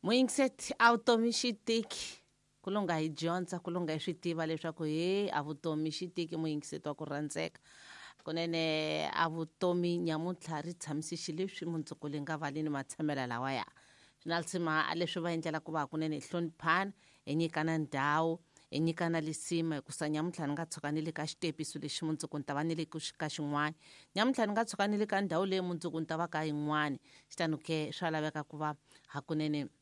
Muyingiseti a vutomi xi tiki ku lunga hi dyondza ku lunga hi swi tiva leswaku he a vutomi xi tiki muyingiseti wa ku rhandzeka kunene a vutomi nyamuntlha ri tshamise xileswi mundzuku li nga vali ni matshamela lawaya swi na lisima leswi va endlela ku va kunene hi hloniphana hi nyikana ndhawu hi nyikana lisima hikusa nyamuntlha ni nga tshuka ni le ka xitepiso lexi mundzuku ni ta va ni le ka xin'wana nyamuntlha ni nga tshuka ni le ka ndhawu leyi mundzuku ni ta va ka yin'wana xitano ke swa laveka ku va hakunene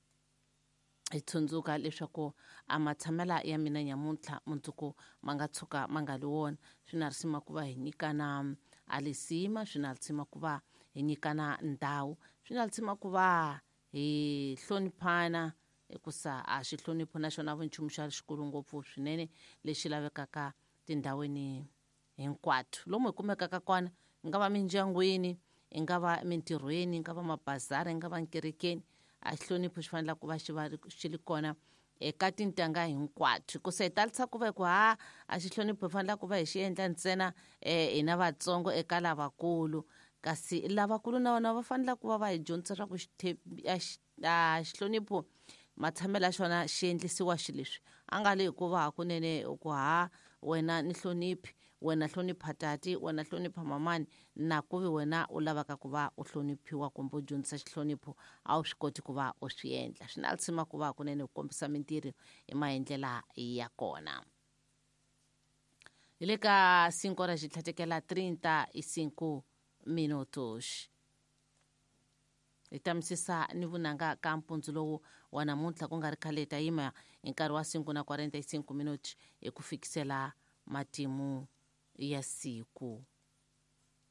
hi tsundzuka leswaku a matshamela ya mina nyamuntlha mundzuku ma nga tshuka ma nga li wona swi na risima ku va hi nyikana a lisima swi na risima ku va hi nyikana ndhawu swi na risima ku va hi hloniphana hikusa a xihlonipho na xona vu nchumu xa xikulu ngopfu swinene lexi lavekaka tindhawini hinkwato lomu hi kumekaka kona yi nga va mindyangwini yi nga va mintirhweni yi nga va mabazara yi nga va nkerekeni a xihlonipho xi fanele ku va xi va xi ri kona eka tintangha hinkwato hikusa hi talisa ku va hi ku ha a xihlonipho hi fanele ku va hi xi endla ntsena um hina vatsongo eka lavakulu kasi lavakulu na vona va fanele ku va va hi dyondzisa swa ku a xihlonipho matshamelo ya xona xi endlisiwa xileswi a nga le hikuva hakunene ku ha wena ni hloniphi wena hlonipha tati wena hlonipha mamani na ku vi wena u lavaka ku va u hloniphiwa kumbe u dyondzisa xihlonipho a wu swi koti ku va u swi endla swi na lisima ku va hakunene u kombisa mintirho hi maendlela ya kona hi le ka 5 horas xitlhatekela 35 minutos hi ta misisa ni vunanga ka mpundzu lowu wa namuntlha ku nga ri khale hi ta yima hi nkarhi wa 5 na 45 minuti hi ku fikisela matimu ya siku.